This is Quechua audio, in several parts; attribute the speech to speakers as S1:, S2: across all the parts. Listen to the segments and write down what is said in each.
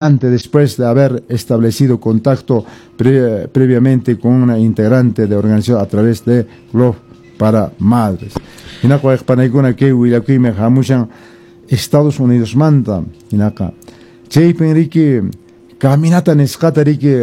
S1: Después de haber establecido contacto previamente con una integrante de organización a través de Club para Madres. Hinaqa, wayqipanaykuna, kay willakuymi hamushan Estados Unidos manta. Hinaqa chaypin riki caminata nisqata riki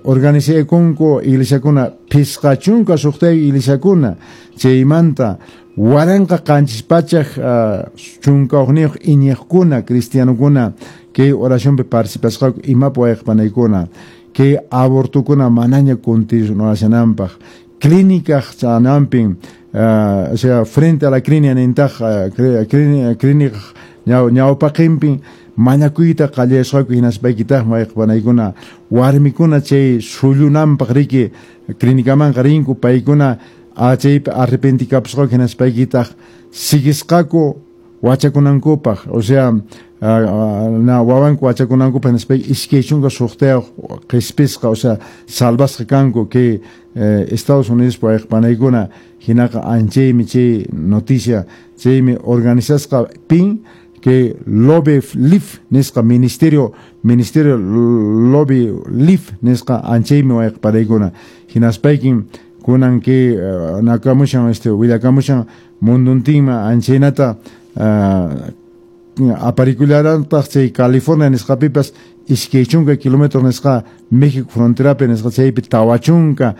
S1: organizaykunku iglesiakuna, 56 iglesiakuna, chaymanta 1711 iñiqkuna, cristianokuna kay oracionpi participasqaku. Imapi, wayqipanaykuna? Kay abortokuna manaña continuashananpaq, clínica chanampin, o sea, frente a la clínica nintaq, clínica ñawpaqinpin mañakuyta qallayasqaku. Hinaspaykitaqmi, wayqipanaykuna, warmikuna chay sullunanpaq riki clínicamanqa rinku, paykuna chaypi arrepentikapusqaku, hinaspaykitaq siguisqaku wachakunankupaq, o sea, na wawanku wachakunankupaq. Hinaspayki 26 qhispisqa, o sea, salvasqa kanku kay Estados Unidos wayqipanaykuna. Hinaqa anchaymi chay noticia. Chaymi organizasqa pin que Love Life nisqa ministerio Love Life nisqa. Anchaymi, wayqipanaykuna. Hinaspaykin kunan kay nakamushan, willakamushan munduntinman anchaynata aparikullarantaq chay California nisqapipas, 20 kilómetros nisqa México fronterapi nisqa, chaypi 40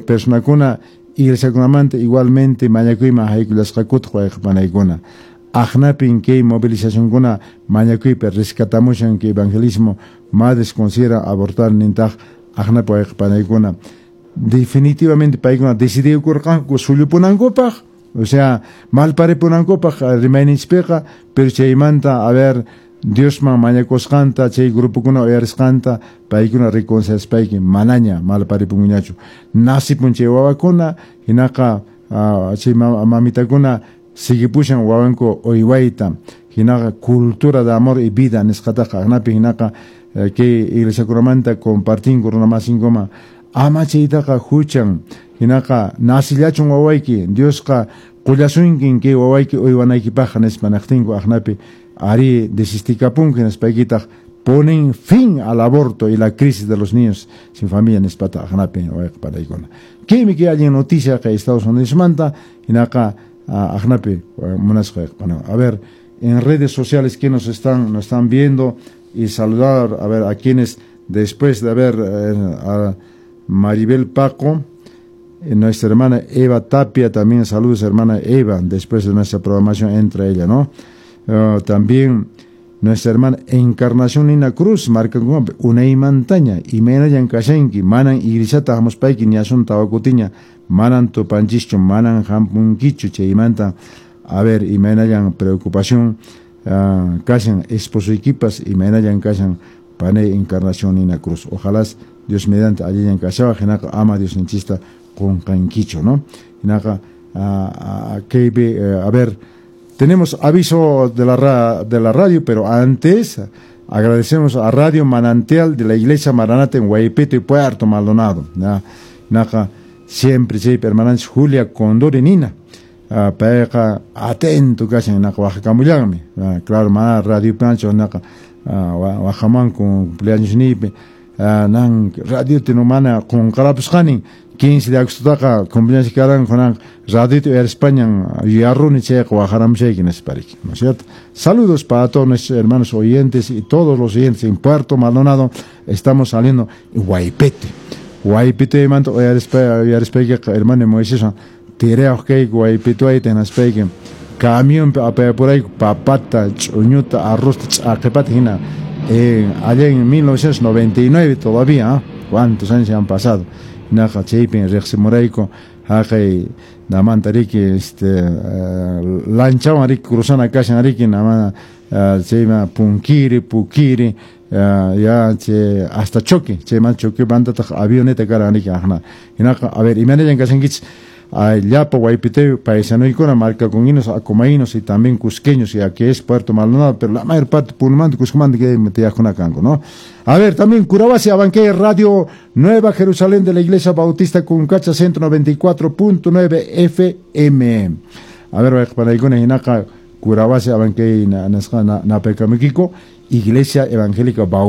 S1: personakuna iglesiakunamanta igualmente mañakuyman haykullasqakutaq, wayqipanaykuna. Aqnapin kay movilizacionkuna mañakuypi rescatamushan kay evangelismo. Madres considera abortar nintaq aqnapi, wayqipanaykuna. Definitivamente paykuna decidikurqanku sullupunankupaq, o sea, malparipunankupaq rimayninchikpiqa, pero chaymanta, a ver, Diosman mañakusqanta chay grupokuna uyarisqanta paykuna reconciliaspayki manaña malparipunñachu, nasipun chay wawakuna. Hinaqa chay mamitakuna sigipushan wawanku uywayta. Hinaqa cultura de amor y vida nisqataqa aqnapi hinaqa kay iglesiakunamanta compartinku runamasinkuma: ama chaytaqa, huchan. Hinaqa nasillachun wawayki, Diosqa qullasunkin kay wawayki uywanaykipaqqa nispa naqtinku, aqnapi ari desistikapunki. Nispaykitaq ponen fin al aborto y la crisis de los niños sin familia nispata aqnapi, wayqipanaykuna. Kaymi kay allin noticia kay Estados Unidos manta. Hinaqa aqnapi, munasqa wayqipana. A ver, en redes sociales que nos están viendo y saludar, a ver, a quienes después de haber a Maribel Paco, nuestra hermana Eva Tapia también, saludos, hermana Eva, después de nuestra programación entra ella, ¿no? También nuestra hermana Encarnación Nina Cruz, marca unaymantaña, imaynallan kashanki? Manan iglesiata hamuspayki ñasun tawakutiña, manan tupanchischu, manan hampunkichu, chaymanta, a ver, imaynallan preocupación kashan esposoykipas, imaynallan kashan panay Encarnación Nina Cruz? Ojalá Dios mediante allillan kashawaq. Hinaqa ama Diosninchista qunqankichu, ¿no? Hinaqa kaypi, a ver, tenemos aviso de la radio, pero antes agradecemos a Radio Manantial de la Iglesia Maranata en Huaypetue y Puerto Maldonado. Hinaqa siempre chaypi hermananchis Julia Condori Nina, payqa atento kashan, hinaqa waqakamullanmi. Claro, mana radio pancho, hinaqa waqamanku cumpleaños niypi, nan radiota no mana qunqarapusqanin, 15 de agostotaqa cumpleaños karan, kunan radiota uyarispañan yuyaruni, chayqa waqaramushayki nispariki, ¿no es cierto? Saludos para todos nuestros hermanos oyentes y todos los oyentes en Puerto Maldonado. Estamos saliendo en Huaypetue. Huaypetue manta uyarispaykiqa hermano Moisés tirayuq kayku Huaypetuayta, hinaspayki camionpi apayapurayku papata, ch'uñuta, arrozta, ch'aqipata hina, allá en 1999 todavía, ¿eh? ¿Cuántos años han pasado? Hinaqa chaypin riqsimurayku haqay namanta riki lanchawan riki cruzana kashan riki nama chayma Punkiri, Pukiri, ya chay hasta Choque, chayman Choque mantataq avioneta karan riki aqna. Hinaqa, a ver, imaynallan kashankichis llapa Huaypeteo paisanoykuna, marcaconguinos, acomaínos y también cusqueños, y aquí es Puerto Maldonado, pero la mayor parte Punomanta, Cuscomanta que tiyaqkuna kanku, ¿no? A ver, también Curahuasi, Abancay, Radio Nueva Jerusalén de la Iglesia Bautista Cuncacha, 194.9 FM. A ver, wayqipanaykuna, hinaqa Curahuasi Abancay nasqa napaykamuykiku Iglesia Evangélica.